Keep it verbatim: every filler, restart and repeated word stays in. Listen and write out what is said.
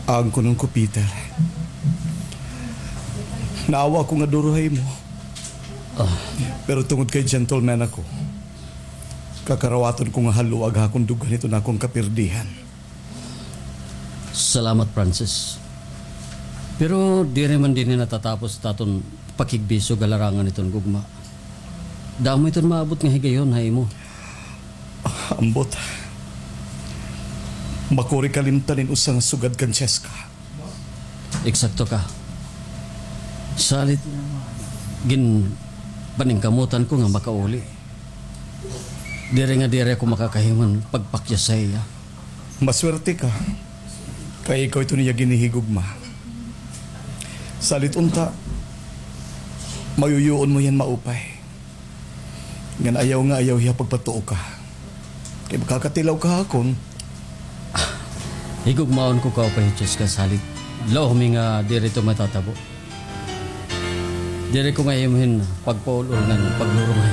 Angkunon ko, Peter. Naawa ako nga duro ha imo. Ah. Pero tungod kay gentleman ako, kakarawaton ko nga haluag ha akon dughan iton akon kapirdihan. Salamat, Francis. Pero diri man dinhi natatapos it aton pakigbisog ha larangan hiton gugma. Damo iton maabot nga higayon ha imo. Ambot. Makuri kalimtan in usa nga sugad kan Cheska. Eksakto ka. Salit, ginpaningkamutan ko nga makauli. Diri nga diri ako makakahimo hin pagpakyas ha iya. Maswerte ka. Kay ikaw iton iya ginhihigugma. Salit unta, mayuyuon mo hiya hin maupay. Ngan ayaw nga ayaw hiya pagpatuo ka. Kay makakatilaw ka ha akon. Higugmaon ko kaupay, Cheska, salit. Law mi nga diri ito matatabo. Diri ko nga imo hin pagpaul-ol ngan pagdurong ha